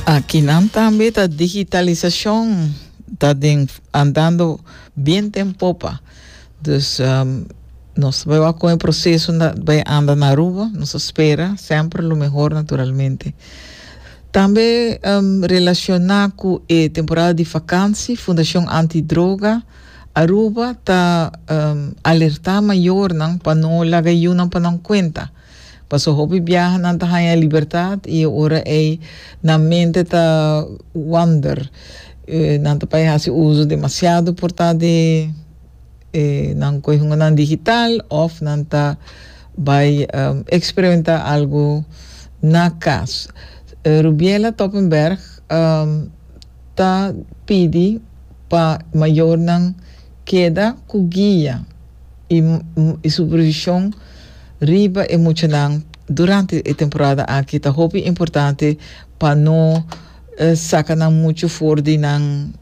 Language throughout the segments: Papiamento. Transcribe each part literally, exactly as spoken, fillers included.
Akinan tambe ta digitalisashon ta den andando biento en popa. Dus um, nos ta bai ku e proseso ta bai anda na Aruba, nos ta spera semper lo mihó, naturalmente. Tambe um, relashoná ku e temporada di vakantie, Fundashon Antidroga Aruba ta um, alertá mayornan pa no laga yiunan pa nan kuenta. Paso hopi biaha nan ta haña libertat i ora ei nan mente ta wander. Eh, nan ta bai hasi uso demasiado por ta di eh, nan nan digital of nan ta bai um, eksperimentá algu na kas. Uh, Rubiela Toppenberg um, ta pidi pa mayornan keda ku guia i, i supervishon riba e muchanan durante e temporada aki. Ta hopi importante pa no uh, saka nan muchu for di nan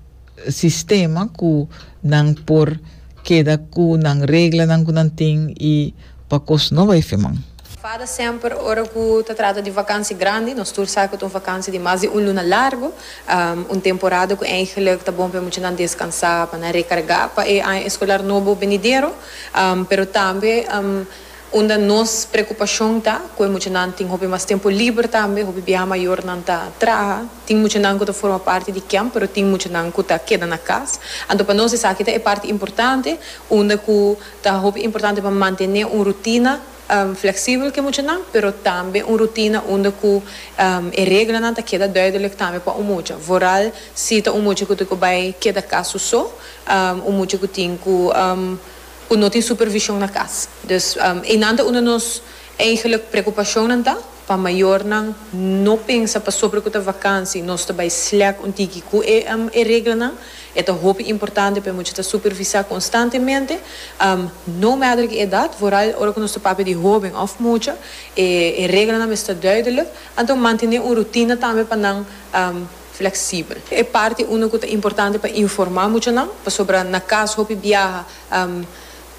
sistema, ku nan por keda ku nan reglanan ku nan tin i pa kos no bai feman. FADA semper, ora ku ta trata di vakantie grandi, nos tur sa ku un vakantie di mas di un luna largu, um, un temporada ku eigenlijk ta bon pa muchanan deskansá, pa rekargá pa e aña eskolar nobo benidero, um, pero tambe um, unda nos preokupashon ta ku muchanan tin hopi mas tempu liber tambe. Hopi biaha mayornan ta traha, tin muchanan ku ta forma parti di kamp, pero tin muchanan ku ta keda na kas. Anto pa nos esaki ta e parti importante, unda ku ta hopi importante pa mantené un rutina um, fleksibel ku muchanan, pero tambe un rutina unda ku um, e reglanan ta keda duidelijk tambe pa e mucha. Vooral si ta un mucha ku tin ku bai keda kas so, um, un mucha ku tin ku um, ku no tin supervishon na kas. Dus um, einan ta unda nos eigenlijk preokupashon ta pa mayornan no pensa pasobra ku ta vakantie, nos ta bai slack un tiki ku e um, e reglanan. E ta hopi importante pa mucha ta supervisá konstantemente, um, no matter ki edat, vooral ora ku nos ta papia di hóben òf mucha, e, e reglanan ta duidelijk, anto mantené un rutina tambe pa nan um, fleksibel. E parti unu ku ta importante pa informá muchanan, pasobra na kas hopi biaha um,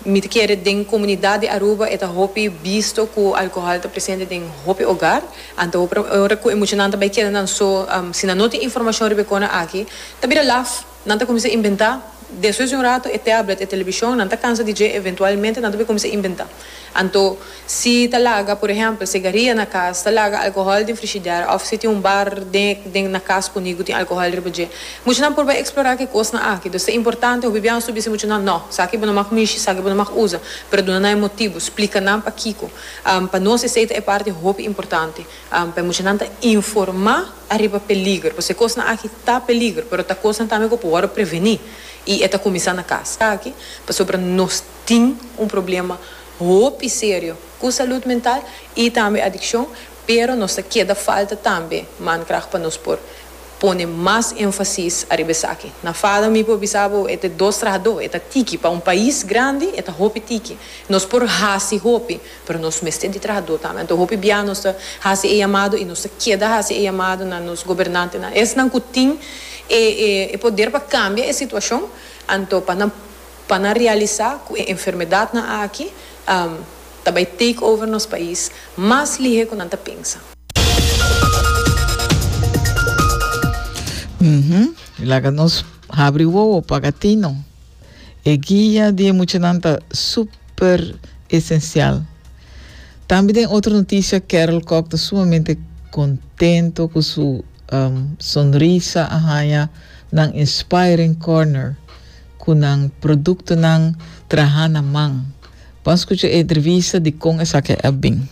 mi ta kere den komunidat di Aruba e ta hopi bisto ku alkohòl ta presente den hopi hogar. Anto ora ku muchanan ta bai keda nan so, um, si nan no tin informashon riba e aki, ta bira laf, nan ta kuminsá inventá. Despues di un ratu, e tablet, e televishon, nan ta kansa di dje, eventualmente nan ta kuminsá inventá. Anto, si ta laga, por ehèmpel, sigaria na kas, ta laga alkohòl den frigidaire, òf si tin un bar den, den na kas ku tin alkohòl riba dje, muchanan por bai eksplorá e kosnan aki. Anto, ta importante, o bibian subi se muchanan, no, esaki bo no mag mishi, esaki bo no mag usa, pero duna nan motibu, splika nan pakiko. Um, pa nos esei ta parti hopi importante. Um, pa muchanan ta informá ariba peliger, pasobra kosnan aki ta peliger, pero ta kosnan tambe ku por prevení. I e ta kuminsá na kas. Aki, pasobra nos tin un problema hopi serio ku salú mental i tambe adikshon, pero nos ta keda falta tambe mankracht pa nos por pone mas énfasis ariba esaki. Na FADA, mi por bisa bo, e ta dos trahadó, e ta tiki pa un pais grandi, e ta hopi tiki. Nos por hasi hopi, pero nos mester di trahadó tambe. Anto hopi bia nos ta hasi e yamado i nos ta keda hasi e yamado na nos gobernantenan. Esnan ku tin e, e, e poder pa kambia e situashon, anto pa nan pa nan realisá ku e enfermedatnan aki um, ta bai take over nos pais mas lihé ku nan ta pensa. Uhum. Laga nos habri wowo, paga tino. E guia di muchanan ta super esensial. Tambe tin otro notisia: Carol Koch ta sumamente kontentu ku su um, sonrisa a haña nan Inspiring Corner ku nan produktonan trahá na man. Ban skucha e entrevista di kon esaki a bin.